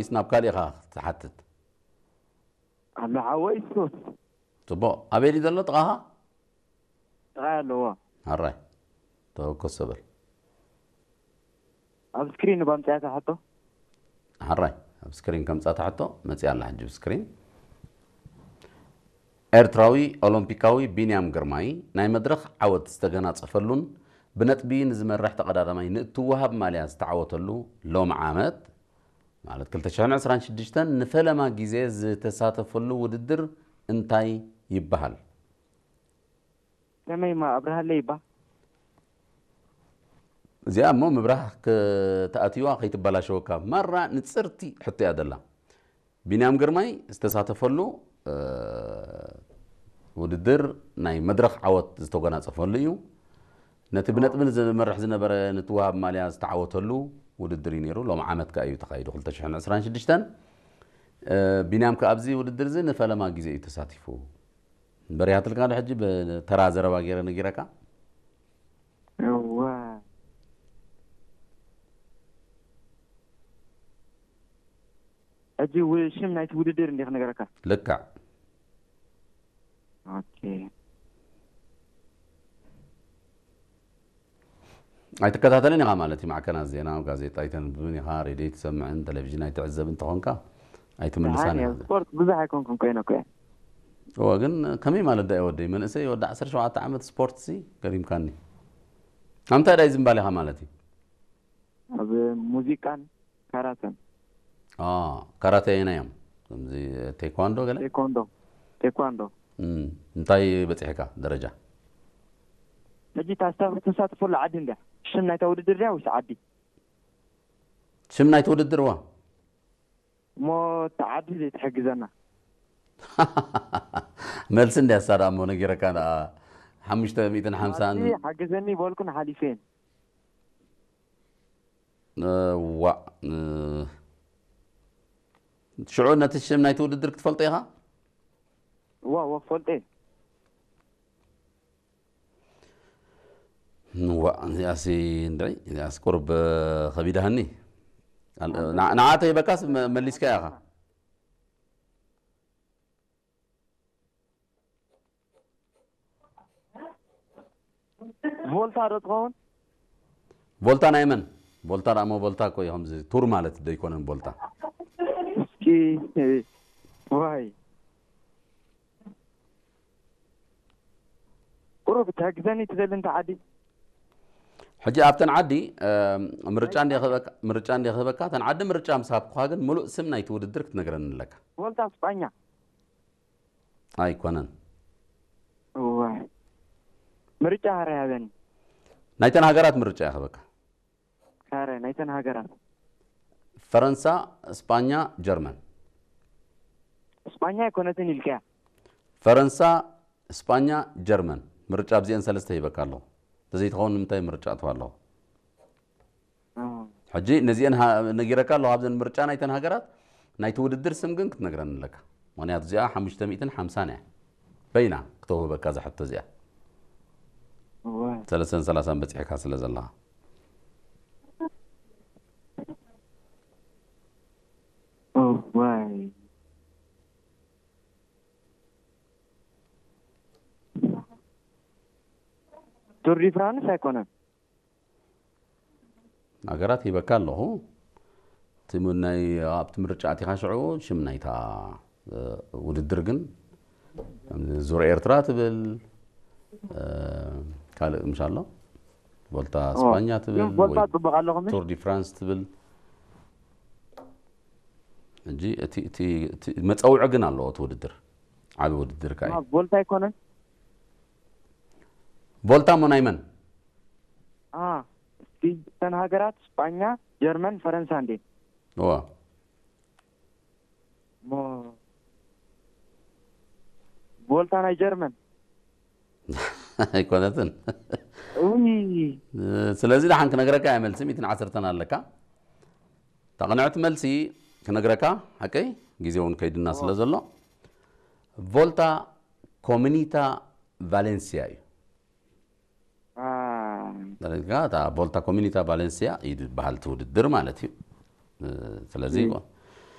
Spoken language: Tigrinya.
ወይስ ናብ ካልእ ኢኻ ትሓትት? ኣሎ ሓወይ እሱ ጽቡቕ። ኣበይ ድዩ ዘሎ ጥቓኻ? ጥራይ ኣለዎ። ኣራይ። ተወከስ በል። ኣብ ስክሪን ባምፅያታ ሕቶ ሓራይ ኣብ ስክሪን ከምጻ ትሕቶ መጽያ ኣላ ሕጂ ኣብ ስክሪን። ኤርትራዊ ኦሎምፒካዊ ቢንያም ግርማይ ናይ መድረኽ ዓወት ዝተገናጸፈሉን ብነጥቢ ንዝመርሕ ተቐዳዳማይ ንእትወሃብ ማልያ ዝተዓወተሉ ሎም ዓመት ማለት ክልተ ሽሕን ዕስራን ሽዱሽተን ንፈለማ ግዜ ዝተሳተፈሉ ውድድር እንታይ ይበሃል? ከመይ ማ ኣብርሃለይ ይባ እዚኣ እሞ ምብራህ ከተኣትዋ ከይትበላሸወካ ማራ ንጽርቲ ሕቶ እያ ዘላ። ቢንያም ግርማይ ዝተሳተፈሉ እ፣ ውድድር ናይ መድረኽ ዓወት ዝተጎናጸፈሉ እዩ። ነቲ ብነጥቢ ዝመርሕ ዝነበረ ንትወሃብ ማልያ ዝተዓወተሉ ውድድር እዩ ነይሩ። ሎም ዓመት ከኣ እዩ ተኻይዱ ክልተ ሽሕን ዕስራን ሽዱሽተን። እ፣ ቢንያም ከኣ ኣብዚ ውድድር እዚ ንፈለማ ግዜ እዩ ተሳቲፉ። በሪሃትልካ ዶ ሕጂ ብተራ ዘረባ ገይረ ነጊረካ? እዋ ሕጂ ው- ሽም ናይቲ ውድድር እንዲ ክነገረካ ልክዕ። ኦኬ ኣይትከታተልን ኢኻ ማለት እዩ። ማዕከናት ዜና፣ ጋዜጣ ኣይተንብብን ኢኻ፣ ሬድዮ ኣይትሰምዕን፣ ቴሌቪዥን ኣይትዕዘብን እንተኾንካ ኣይትምልሳን ደሓን ኢኻ። እየ። ስፖርት ብዙሕ ኣይኮንኩን ኮይነ እኮ እየ። እወ ግን ከመይ ማለት ዳ ወደይ መንእሰይ ወዲ ዓሰርተ ሸውዓተ ዓመት ስፖርት ሲ ገሪምካኒ። ኣምታይ ዳይ ዝምባል ኢኻ ማለት እዩ? ኣብ ሙዚቃን ካራተን አ፣ ካራተ ኣየናይ እዮም? ከምዚ ቴኳንዶ ገለ? ቴኳንዶ ቴኳንዶ እም፣ እንታይ በጺሕካ ደረጃ? ሕጂ ታስታ ተሳትፈሉ ዓዲ እንድያ ሽም ናይታ ውድድር ድያ ወይስ ዓዲ? ሽም ናይቲ ውድድር ዋ? እሞ እቲ ዓዲ ዘይትሕግዘና መልሲ እንድያ ሳዳ እሞ ነጊረካ ደኣ ሓሙሽተ ሚእትን ሓምሳን ዓዲ ሓግዘኒ በልኩን ሓሊፈን እ፣ ዋእ እ፣ ሽዑ ነቲ ሽም ናይቲ ውድድር ክትፈልጦ ኢኻ? እዋ እዋ ክፈልጦ እየ ዋእ እዚኣሲ እንድዒ እዚኣስ ቁርብ ከቢዳሃኒ። ኣል- ንዓ- ንዓተ ይበካስ መ- መሊስካ ኢኻ። ቮልታ ዶ ትኸውን? ቮልታ ናይ መን? ቮልታ ደኣ እሞ ቮልታ እኮ እዩ ከምዚ ቱር ማለት ዶ ኣይኮነን ቮልታ? እስኪ ዋይ ቁሩብ ትሕግዘኒ ትደሊ እንተ ዓዲ ሕጂ ኣብተን ዓዲ እ፣ ምርጫ እንደ ክህበካ ምርጫ እንደ ክህበካ እተን ዓዲ ምርጫ ምስ ሃብኩኻ ግን ምሉእ ስም ናይቲ ውድድር ክትነግረኒ ኣለካ። ቮልታ ስጳኛ ኣይኮነን። ዋይ ምርጫ ሃረ ያበኒ ናይተን ሃገራት ምርጫ እየ ክህበካ። ካረ ናይተን ሃገራት ፈረንሳ፣ ስጳኛ፣ ጀርመን። ስጳኛ ኣይኮነትን ኢልካያ ፈረንሳ፣ ስጳኛ፣ ጀርመን። ምርጫ ኣብዚአን ሰለስተ ሂበካ ኣለኹ። ተዘይትኸውን ንምንታይ ምርጫ እትዋ ኣለኹ? ሕጂ ነዚአን ሃ- ነጊረካ ኣለኹ። ኣብዘን ምርጫ ናይተን ሃገራት ናይቲ ውድድር ስም ግን ክትነግረኒ ኣለካ። ምክንያቱ እዚኣ ሓሙሽተ ሚእትን ሓምሳን እያ። በይና ክተውህበካ እዛ ሕቶ እዚኣ። እዋ ሰለስተን ሰላሳን በፂሕካ ስለ ዘለኻ። እዋይ ቱር ዲ ፍራንስ ኣይኮነን ሃገራት ሂበካ ኣለኹ። እቲ ም- ናይ ኣብቲ ምርጫ ኣቲኻ ሽዑ ሽም ናይታ እ፣ ውድድር ግን ከም ዙር ኤርትራ ትብል እ፣ ካልእ ምሽ ኣሎ ቮልታ ኦ፣ ስፓኛ ግን ትብል ቮልታ ወይ ጽቡቕ ኣለኹም ቱር ዲ ፍራንስ ትብል። ሕጂ እቲ እቲ እቲ መጸውዒ ግን ኣለዎ እቲ ውድድር ዓቢ ውድድር ከኣ እዩ። ቮልታ ኣይኮነን ቮልታ እሞ ናይ መን? አ እስቲ እተን ሃገራት ስጳኛ ጀርመን ፈረንሳ እንዴ እዋ ሞ ቮልታ ናይ ጀርመን ኣይኮነትን። ውይ ስለዚ ደሓን ክነግረካ እየ መልሲ ሚእትን ዓሰርተን ኣለካ። እታ ቅንዕቲ መልሲ ክነግረካ ሓቀይ ግዜ እውን ከይድና ስለ ዘሎ ቮልታ ኮሚኒታ ቫሌንሲያ እዩ። አ ዳርጋ እታ ቮልታ ኮሚኒታ ቫሌንሲያ እዩ ዝበሃል እቲ ውድድር ማለት እዩ። ስለዚ እም።